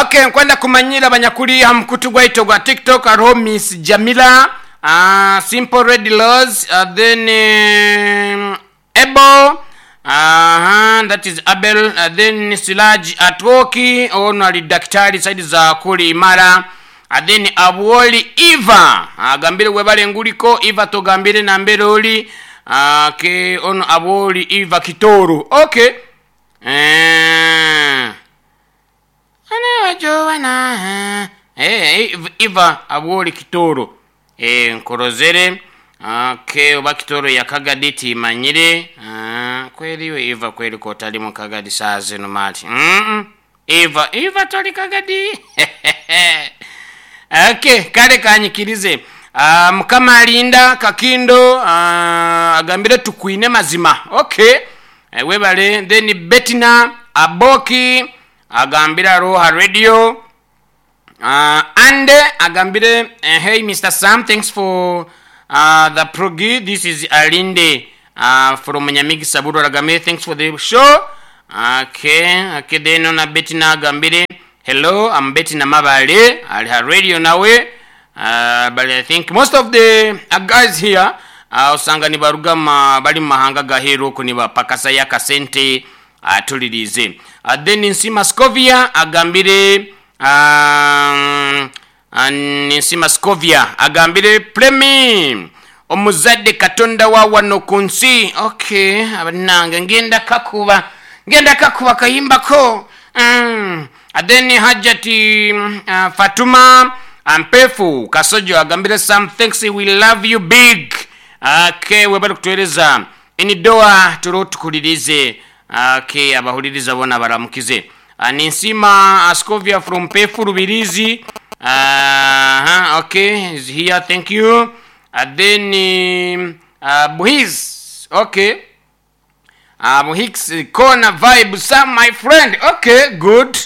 Ok nkwenda kumanyira abanyakuli ha mukutu gwaitu ogwa tiktok hariho Miss Jamila, Simple Red Rose, then Abel, that is Abel, then Siraj Atwoki, ono ali dakitari side za kuli Imara, then Abwoli Eva agambire webale nguliko Eva togambire nambere oli, okay, ono Abwoli Eva Kitoru, okay. Eva Abwoli Kitoru, nkorozere, okay, oba Kitoru ya Kagadi timanyire, kweli we Eva kweli kotali mu Kagadi saa zino mali. Eva, Eva toli Kagadi. Okay, kale kanyikirize. Mukama alinda Kakindo, agambire tukwine mazima. Okay. Webale then Betina Aboki agambira Roha Radio. And agambire, hey Mr. Sam, thanks for the progi. This is Alinde from Nyamigi Saburo agambire, thanks for the show. Okay, okay, then ona Betina agambire, hello, I'm Betina Mabale, ali ha radio nawe. But I think most of the guys here osanga nibaruga bali mu mahanga gaheru oko nibapakasa ya kasente atulirize. Then Nsima Scovia agambire, Nsima Scovia agambire Premi omuzadde Katonda wa wano ku nsi. Okay, abanange ngenda kakuba, ngenda kakuba kayimbako. Then Hajati Fatuma Ampefu Kasojo agambire some thanks, we love you big. Okay, webale kutueleza inidoa turo tukulirize. Okay, abahuliriza bona baramukize. Ninsima Ascovia from Pefu Rubirizi. Okay, is here, thank you. Then Buhiz, okay. Buhix corner vibe some my friend. Okay, good.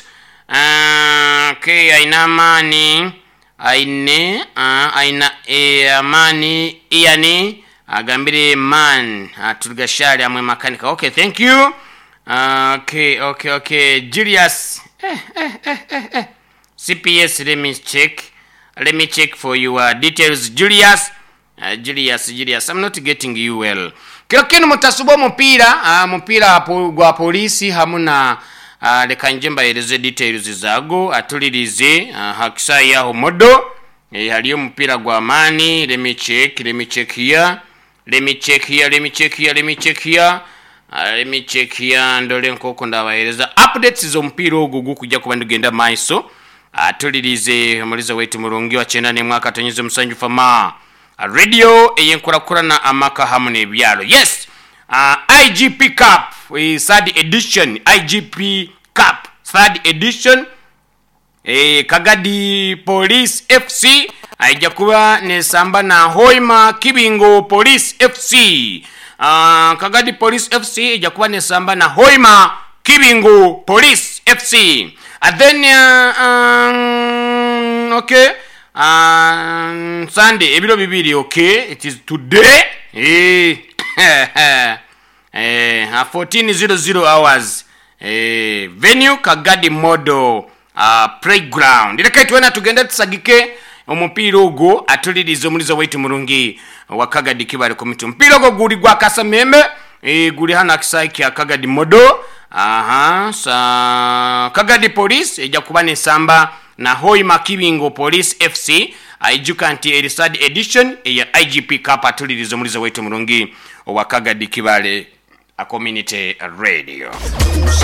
Okay, aina amani aine, aina amani yani agambire man atulgashari amwe makanika. Okay, thank you. Okay, okay, okay. Julius, CPS, let me check. Let me check for your details, Julius. Julius, Julius, I'm not getting you well. Kilo kinu mutasuba mupira, mupira gwa polisi hamuna. Leka nje mbahereze details zago atulirize, hakisai yaho modo. Haliyo mupira gwa amani. Let me check, let me check here. Let me check here, let me check here, let me check here. Let me check here ndole nkoko ndabahereza updates z'omupiira ogwo gukujja kuba ndigenda maiso. Atulirize omuliza wetu murungi wa 91.7 fama radio eyenkurakurana amaka hamu n'ebyalo. Yes, IGP Cup third edition, IGP Cup third edition. Kagadi Police FC aija kuba nesamba na Hoima Kibingo Police FC. Kagadi Police FC ija kuba nesamba na Hoima Kibingo Police FC. And then okay, Sunday ebiro bibiri, okay, it is today. 14:00 hours. Venue Kagadi Model Playground. Leka twena tugende tusagike omupiira ogwo atulirize omulizo waitu murungi wa Kagadi Kibale Committee. Omupiira ogwo guli gwa Kasamembe, guli hano akisaayi kya Kagadi Model. Aha, sa Kagadi Police ejja kuba nesamba na Hoima Kibingo Police FC. Aijuka nti eri third edition eya IGP Cup atulirize omulizo waitu murungi wa Kagadi Kibale Community Radio.